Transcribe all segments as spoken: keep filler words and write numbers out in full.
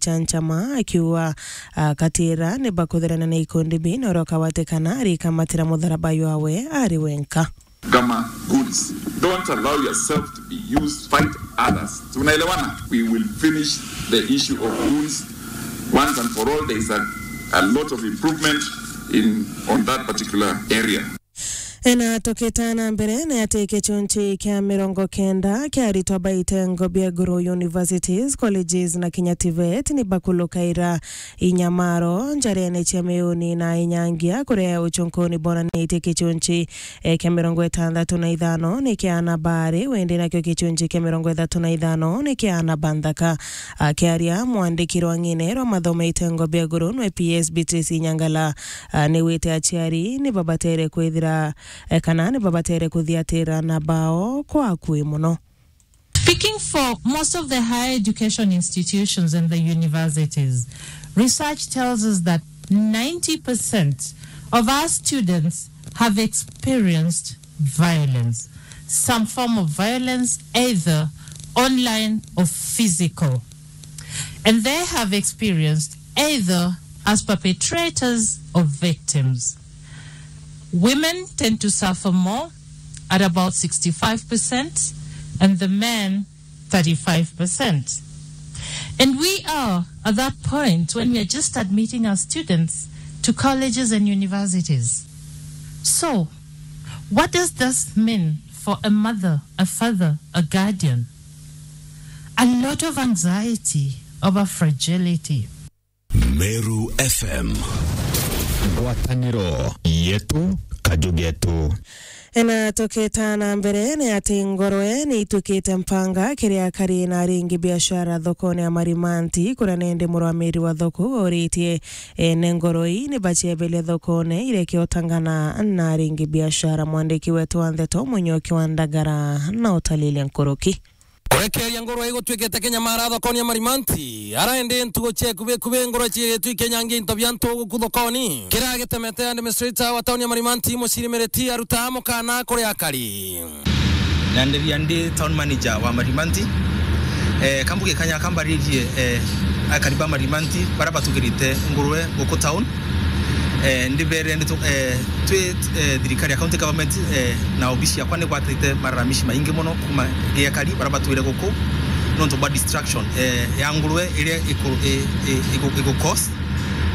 Ichanchama akiuga, ah, katira ni bakuthirana na ikundi bi na uria ukawatikana arikamatira mutharaba jwawe ari wenka. Gama goods. Don't allow yourself to be used to fight others. Tunaelewana? We will finish the issue of goods once and for all. There is a, a lot of improvement in, on that particular area. Ena tukita na mbere ni ati kichunchi kia mirongo kenda kia aritwa ba itengo bia iguru, universities, colleges na kinya TVET ni bakulukaira inyamaro njarene cia miuni na inyangia kuria uchunkuni bonanitie kichunchi, eh, kia mirongo itandatu na ithano ni kia ana baari, windi nakio kichunchi kia mirongo ithatu na ithano ni kia ana banthaka. Akiaria mwandiki rwa ng'ine rwa mathomo itengo bia iguru nwe PS Beatrice Nyangala, ah, ni wite aciari ni babatere kwithira, eh, kana ni babatere kuthiatira na bao kwa akui muno. Speaking for most of the higher education institutions and the universities, research tells us that ninety percent of our students have experienced violence, some form of violence, either online or physical. And they have experienced either as perpetrators or victims. Women tend to suffer more at about sixty-five percent, and the men thirty-five percent. And we are at that point when we are just admitting our students to colleges and universities. So, what does this mean for a mother, a father, a guardian? A lot of anxiety over fragility. Meru FM. Ngwataniro yetu, kaju getu. Ena tukita na mbere ni ati ngorwe ni itwikite mpanga kiri akari na aringi biashara thokone ya Marimanti, kuria nende murwamiri wa thoko uritie ene ngorwe ii ni baciebele thokone ireke utangana na aringi biashara. Mwandiki wetu wa ndeto Munyoki wa Ndagara na utalile nkuruki. Kurekeria ngurwe igutwikite kinyamara thokoni ya Marimanti, ara indi ntugo cia ikubi ikubi ngurwe ciigitwe ikinyangia into bia antu guku thokoni. Kira gitemete administrator wa tauni ya Marimanti, Muciri Miriti, aruta mukana kuri akari. Na ndiria ndi town manager wa Marimanti. Eh, kambuge kanya kambaririe, eh, akari ba Marimanti bara batugirite ngurwe guku town. Eh, ndibere ndi tu-, eh, twi, eh, thirikari ya county government, eh, na obici yakwa ni gwatite malalamishi maingi mono kuma gia kari bara batwire guku nontu bwa destruction, eh, ya ngurwe iria iku-, i-, i-, iku-, iku cause.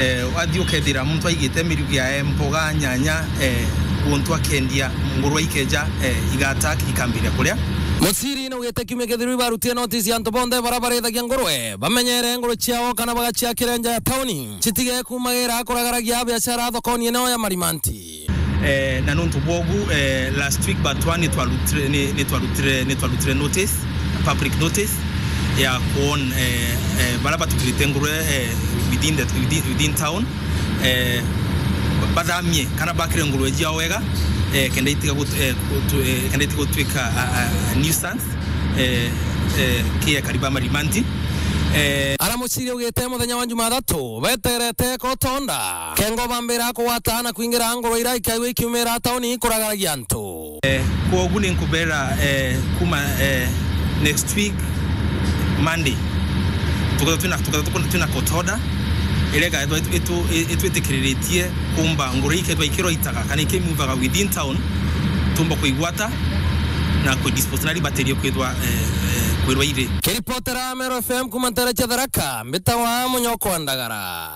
Eh, wathi ukethira muntu aigite mirigo yae, mboga, nyanya, eh, guntu akendia, ngurwe ikeja, eh, iga attack ikambiria kuria. Muciri naugite kiumia kithiru ibarutie notice ya antu bonthe bara barithagia ngurwe bamenyere ngurwe ciao kana bagaciakire nja ya tauni. Citige kumagira kuragaragia biashara thokoni eneo ya Marimanti. Eh, na nontu bwogu, eh, last week but one ni twarutire, ni, ni twarutire, ni twarutire notice, public notice ya kuon, eh, eh, bara batukirite ngurwe, eh, within the, within, within town, eh, bathamie kana bakire ngurwe ciao wega, eh, kenda itiga gut-, eh, gutu-, eh, kenda itiga gutwika a, a, a nuisance, eh, eh, ki ekari ba Marimanti. Eh, ara muciri ugite muthenya wa Jumathatu beterete kotonda kengo bambira kugwata na kwingira ngurwe ira ikaigua ikiumira tauni kuragaragia antu. Eh, kwogu ni nkubera, eh, kuma, eh, next week Monday tukethwa twina, tukethwa tukuna twina court order iria igaethwa itu-, itu-, itwitikiriritie kumba ngurwe ikethwa ikirwa itaga kana ikimuvaga within town, tumba kuigwata na kuidispose na ribaterio kwithwa, eh, eh, kwirwa iri. Kiripotera Meru FM kuma ntere cia Tharaka, mbitagwa Munyoko wa Ndagara.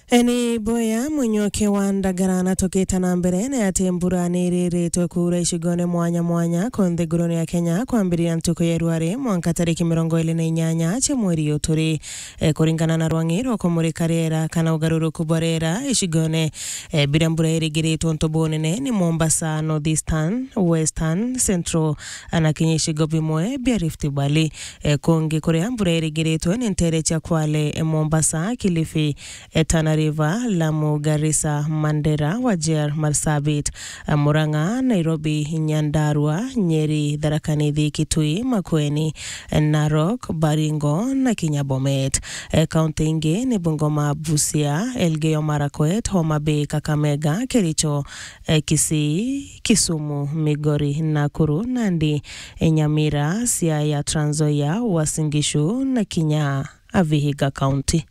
Eni boya Munyoki wa Ndagara na tukita na mbere ni ati mbura ni iriritwe kuura icigone mwanya mwanya ku nthigurune ya Kenya kwambiriria ntuku ya rwari mwanka tariki mirongo iri na inyanya cia mweri uyu turi. Eh, kuringana na rwang'i rwa kumurika riera kana ugaruruku bwa riera icigone, eh, biria mbura irigiritwe untu bunene ni Mombasa, North Eastern, Western, Central, na kinya icigo bimwe bia Rift Valley. Eh, kungi kuria mbura irigiritwe ni ntere cia Kwale, eh, Mombasa, Kilifi, eh, Tana River, Lamu, Garissa, Mandera, Wajir, Marsabit, eh, Murang'a, Nairobi, Nyandarua, Nyeri, Tharaka Nithi, Kitui, Makueni, eh, Narok, Baringo na kinya Bomet. Eh, kaunti ingi ni Bungoma, Busia, Elgeyo Marakwet, Homa Bay, Kakamega, Kericho, eh, Kisii, Kisumu, Migori, Nakuru, Nandi, eh, Nyamira, Siaya, Trans Nzoia, Uasin Gishu na kinya a Vihiga County.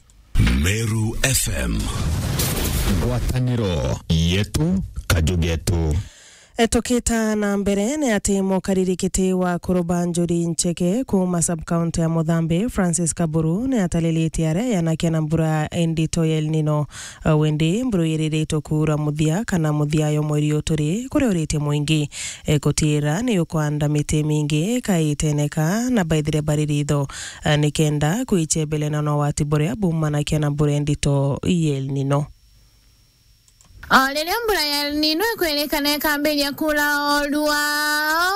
Meru F M. Ngwataniro yetu, kaju getu. E, tukita na mbere, ni ati mukariri kiti wa Kuruba Njuri Ncheke kuuma sub-county ya Muthambi, Francis Kaburu, ni atariritie aria yanakia na mbura ndito ya El Nino. E, windi mburu iriritwe kuura muthia kana muthia yo mweri uyu turi, kuria uritie mwingi, e, gutiira ni ukwanda miti mingi kaiteneka na baithire bari ritho, e, nikenda kwichebele na ugwati buria bumanakia na mbura ndito ya El Nino. O riria mbura ya El Nino ikwirikana ikambiria kuura o rua,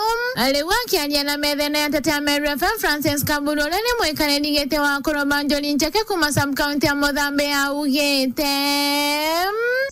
riu akiaria na methene ya Tetea Meru F M, Francis Kaburu, uria ni mwikariri giti wa Kuruba Njuri Ncheke kuuma sub-county ya Muthambi, augite,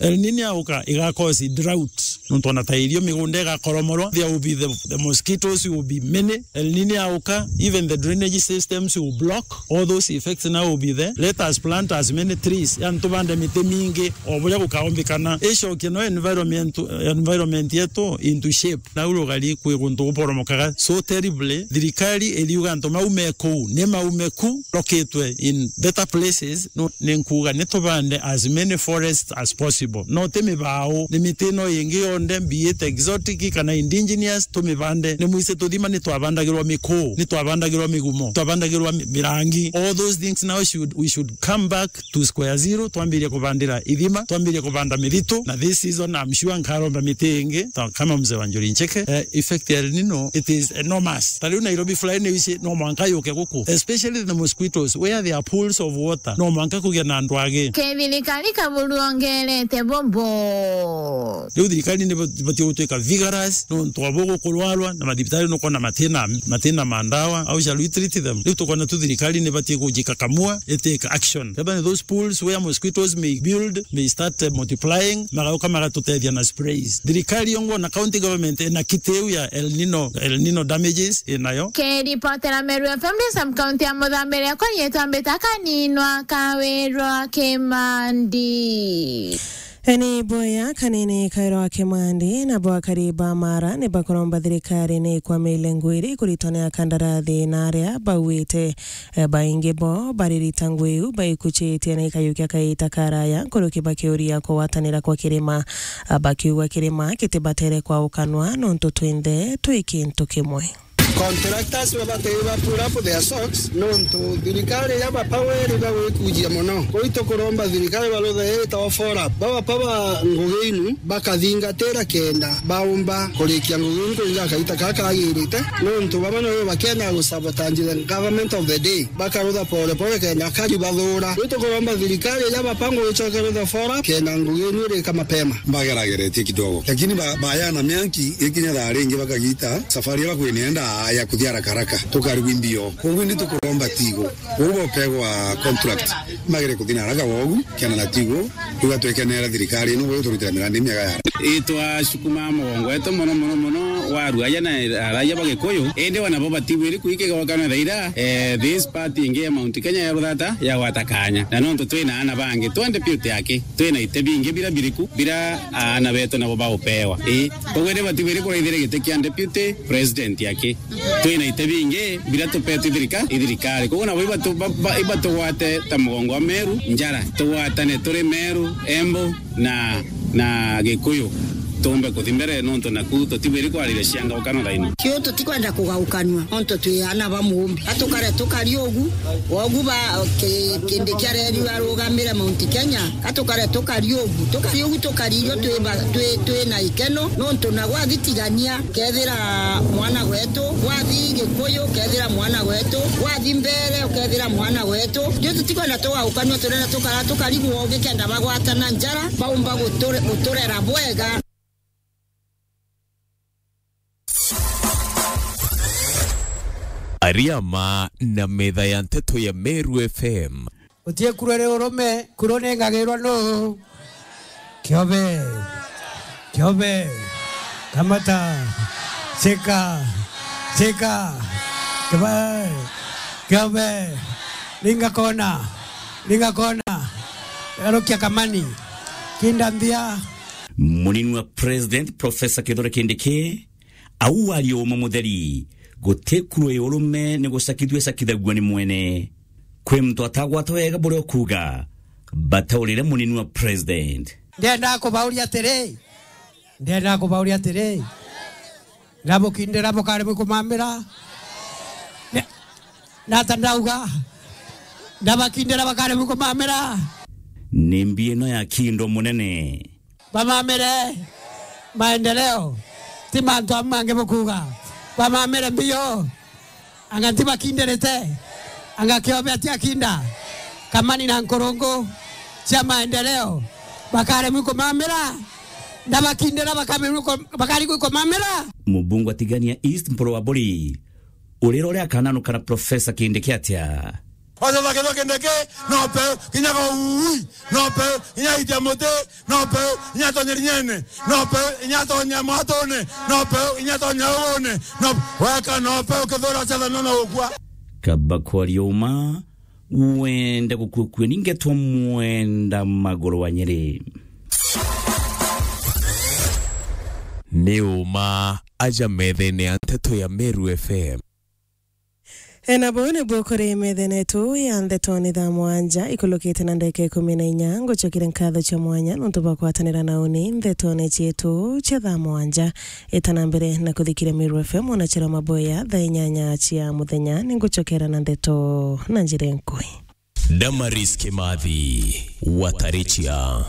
El Nino yauka, iga cause drought. Nontu ona ta irio migunda igakoromorwa, there will be the, the mosquitoes will be many. El Nino yauka, even the drainage systems will block. All those effects now will be there. Let us plant as many trees. Yani, tubande miti mingi o buria gukaombikana. Icokie no environment, environment yetu into shape. Nau rugari kwi guntu guporomokaga so terribly. Thirikari iriuga antu mau me kuu, ni maume ku, lokitwe in better places. No, ni nkuuga ni tubande as many forests as possible. No ti mibao, ni miti ino ingi yonthe, be it exotic kana indigenous, tumibande. Ni mwise tuthima ni twabandagirwa mikuu, ni twabandagirwa migumo, twabandagirwa mi-, mirangi. All those things now should, we should come back to square zero, twambirie kubandira ithima, twambirie kubanda mithitu, na this season I'm sure nkaromba miti ingi, ta kama mzee wa Njuri Ncheke. Eh, effect ya El Nino, it is enormous. Ta riu Nairobi fly ni ici, no mwanka yuke guku, especially the mosquitoes, where there are pools of water, no mwanka kugia na ndwagi. Kithirikari Kaburu ongerete bobo. Riu thirikari ni ibatie gutwika vigorous, nontu abo gukurwarwa na mathibitari nukona matina, matina ma ndawa, how shall we treat them? Riu tukona tu thirikari ni ibatie kujikakamua, itake action. Kethira ni those pools where mosquitoes may build, may start, eh, multiplying, magauka magatutethia na sprays. Thirikari yongwa na county government ina kiti iu ya El Nino, El Nino damages inayo. Kiripotera Meru F M ndi sub-county ya Muthambi, riakwa riitwa Mbita Kaninwa Kawirwa Kimandi. Eni boya kanini Kawirwa Kimandi na bwakari ba Mara ni bakuromba thirikari ni ikwamile ngwiri kuritwa ni akandarathi na aria bauite. E, baingi bo baririta ngui iu baikuchitie na ikayukia kaita karaya nkuruki bakiuria kugwatanira kwa kirima, a, bakiuga kirima gitibatere kwaukanwa nontu twinthe twi kintu kimwe. Contractors babatei ba pull up their socks nontu thirikari ya bapaweri bagwikujia mono. Kwi tukuromba thirikari baruthe iri ta ofora. Baba pa ba ngugi inu bakathingatira kenda baumba kurikia ngugi inu kuringa kaita ka kagirite, nontu baba noyo bakendaga gusabotage the government of the day, bakarutha pole pole kenda kari bathura. Riu tukuromba thirikari iria bapango icoke rutha fora kenda ngugi inu irika mapema. Bagerageretie kidogo, lakini ba-, bayana mianki ikinya thaa ringi bakagita safari iria bakwinenda ya kuthia haraka haraka, tukarigwa imbio. Koguo indi tukuromba tigo. Uu bopegwa contract, magere kuthi na haraka wogu, kena na tigo, tugatwekenera thirikari ino bwe turutira mirandi miega ya. Itwa cukuma mugongo wetu mono, mono, mono, wa ruaja na araja ba Gikuyu. Indi wana bo batibwiri kuikega wakana thaira, eh, this party ingi ya Mount Kenya ya ruthata ya gwata kanya. Na nontu twina ana bangi, twa deputy aki, twina ite bingi bira biriku, bira ana betu nabo baupewa. Ii, koguo indi batibwiri kuraithira giti kia deputy president aki. Twina ite bingi bira tupetwe i thirika-, i thirikari. Koguo nabo ibatu-, ba-, ba-, ibatugwate ta mugongo wa Meru njara. Tugwatane turi Meru, Embu na, na Gikuyu. Tumbe kuthi mbere nontu naku tutibwiri kwariria cianga ukano thaino. Kiu tutikwenda kugaukanua nontu twi ana ba muumbi. Atukare tukari ugu, wogu ba ki-, kindi kia reri arugamire Mount Kenya. Atukare tukari ugu, tukari ugu tukari irio twi ba-, twi, twi na ikeno nontu na gwathi tigania. Kethira mwana wetu, wathi Gikuyu, kethira mwana wetu, wathi mbere, ukethira mwana wetu. Riu tutikwenda tugaukanua, turenda tukara, tukarigwo ugikenda bagwatana njara, baumba guture-, guturera bwega. Ariama na metha ya nteto ya Meru F M. Utie kuru ri urume, kuru ni ngagirwa nu? Kiobe. Kiobe. Kamata. Shika. Shika. Kiba-, kiobe. Linga kona. Linga kona. Garukia kamani. Kinda nthia. Munini wa President Professor Kithure Kindiki, au waria uma mutheri, guti kuru ya urume ni gucakithua icakithagua ni mwene. Kwi muntu atagwata wega buria ukuuga, bataurire munini wa president. Ndenda kubauria atiri, ndenda kubauria atiri, ndabukindira bukaremwe kumamira? Ne-, nata ndauga, ndabakindira bakaremwe kumamira? Ni mbi ino ya kindo munene. Bamamire maendeleo, ti mantu amwe mangi bukuuga. Bamamire mbio, anga ntibakindirite, anga kiobe atiakinda. Kamani na nkurungu cia maendeleo, bakaremwi kumamira, ndabakindira bakaremwi ku-, bakaremwi kumamira. Mubungu atigania East Mpuru wa Buri, urira uria akananukana Professor Kindiki atia? Ojo thake thake ndeke, no pe, kinya go ui, no pe, kinya itia muti, no pe, kinya tonye rinyene, no pe, kinya tonye mwatune, no pe, kinya tonye uune, no, weka no pe, ukithura cetha no, no ukua. Kaba kwaria uma, wenda gukua kua, ningetwa Mwenda Maguru wa Nyeri. Ni uma aja methene ya nteto ya Meru F M. E, na buu nibuo kuri methene yetu ya ndeto ni thaa mwanja ikulukite na ndagika ikumi na inya. Ngucokere nkatho cia mwanya nontu bwa kwatanira na uni ndeto ni cietu cia thaa mwanja. Itana mbere na kuthikiria Meru F M, ona chira maboya thaa inyanya cia muthenya, ni ngucokera na ndeto na njira inkui. Damaris Kimathi, Watarichia.